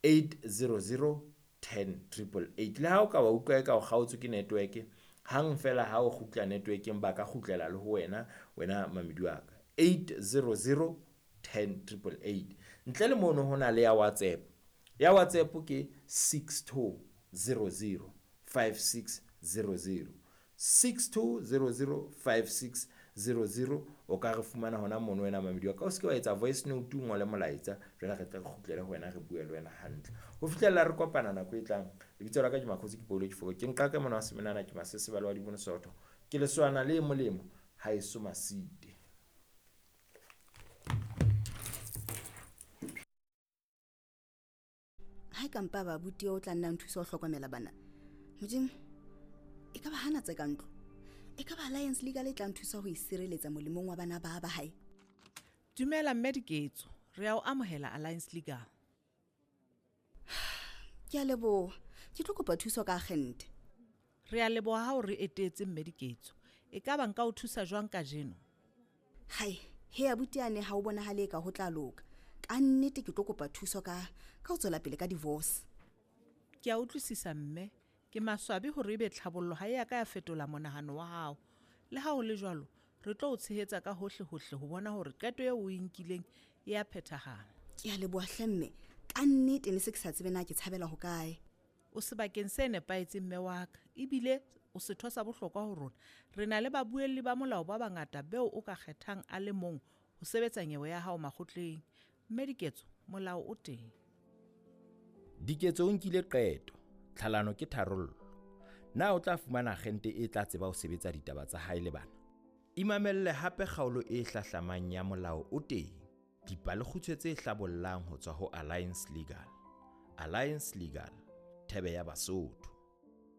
800 10 888. Le ha o ka wa utlwa eka o kgaotswe ke network, hang fela ha o kgutla networkeng ba ka kgutlela le ho wena, wena mamedi wa ka. 800 10 888. Ntle le mono ho na le ya WhatsApp. Ya WhatsApp ke 6200 5600. 6200 5600. O ka re fumana hona mono wena mamedi wa ka. O se ke wa etsa voice note, o ngole molaetsa, jwale re tle re kgutlele ho wena, re bue le wena hantle. Ho fihlella re kopana nako e tlang. Lebitso la ka ke Makgotsi, ke Paulo Kifoko. Ke nqake mona wa Semenana, ke Masesebale wa Dibono Sootho. Ke lesoana le molemo haeso Masite. Ha e ka mpa ba abuti o tla nna nthusa ho hlokomela bana. Modimo, e ka ba hana tse ka ntlo. E ka ba Alliance Legal e tla nthusa ho isireletsa molemong wa bana ba ba hae. Dumela mme Diketso, re a o amohela Alliance Legal. Ke a leboha. Ke tlo kopa thuso ka agente. Re a leboha ha o re etetse mme Diketso. E ka ba nka o thusa jwang kajeno? Hai, he abuti ane ha o bonahale ka ho tla loka. Ka nnete ke tlo kopa thuso ka ho tswela pele ka divorce. Ke a utlwisisa mme, ke maswabi hore ebe tlhabollo ha e a ka ya fetola monahano wa hao. Le ha ho le jwalo, re tlo o tshehetsa ka hohle hohle ho bona hore qeto eo o e nkileng e a phethahala. Ke a leboha hle mme, ka nnete ne se ke sa tsebe na ke tshabela hokae. O sebakeng se nepahetseng mme wa ka, ebile o setho sa bohlokwa ho rona. Re na le babuelli ba molao ba bangata beo o ka kgethang a le mong ho sebetsa nyewe ya hao makgotleng. Mme Diketso, molao o teng. Diketso o nkile qeto, tlhalano ke tharollo. Na o tla fumana agente e tla tseba ho sebetsa ditaba tsa hae le bana? Imamelle hape kgaolo e hlahlamang ya Molao o Teng, dipalekgutshwe tse hlabollang ho tswa ho Alliance Legal. Alliance Legal, thebe ya Basotho.